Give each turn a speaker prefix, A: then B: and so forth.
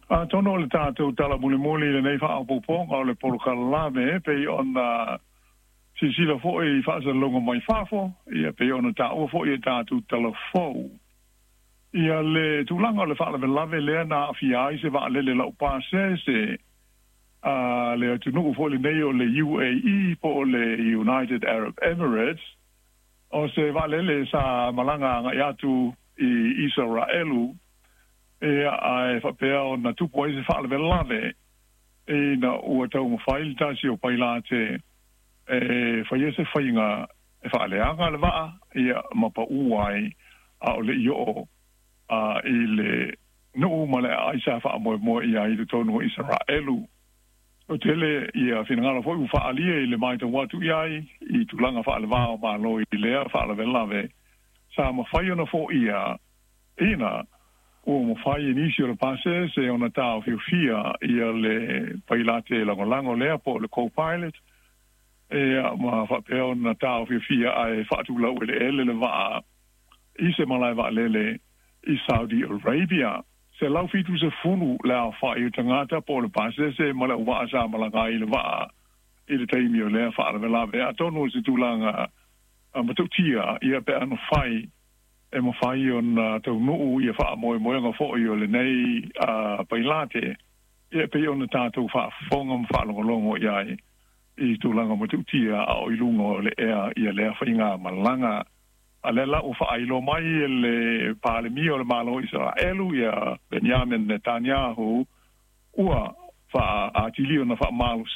A: Atonu o le tatou tala mulimuli i lenei faaopoopoga o le polokalame pei ona silasila foi i faasalalauga mai fafo, ia pei ona taua foi e tatou tala fou ia le tulaga o le faalavelave lea na aafia ai se vaalele laupasese a le atunuu foi lenei o le UAE po o le United Arab Emirates. O se vaalele sa malaga agai atu i Isaraelu, ia ae faapea ona tupu ai se faalavelave ina ua taumafai le tasi o pailate e faia se faiga e faaleaga le vaa, ia ma pau ai a o le i oo i le nuu ma le aai sa faamoemoe i ai i totonu o Isaraelu. O tele ia finagalo foi ua faaalia i le matau atu i ai i tulaga faaleva o Malo i lea faalavelave sa mafai ona foia ina ua mafai e nisi o le pasese ona taofiofia ia le pailate lagolago lea po o le co-pilot, ia ma faapea ona taofiofia ae faatulau eleele le vaa i se malae vaalele i Saudi Arabia. 170 le aofai o tagata po o le pasese ma le auvaa sa malaga ai i le vaa i le taimi o lea faalavelave. Atonu o se tulaga matautia ia pe a mafai e mafai ona taunuu ia faamoemoega foi o lenei pailate, ia pei ona tatou faafofoga ma faalogologo i ai i tulaga matautia a o i luga o le ea ia lea faigamalaga. A lea la ua faailoa mai e le Palemia o le Malo o Isaraelu ia Benjamin Netanyahu ua faaatili ona faamalosia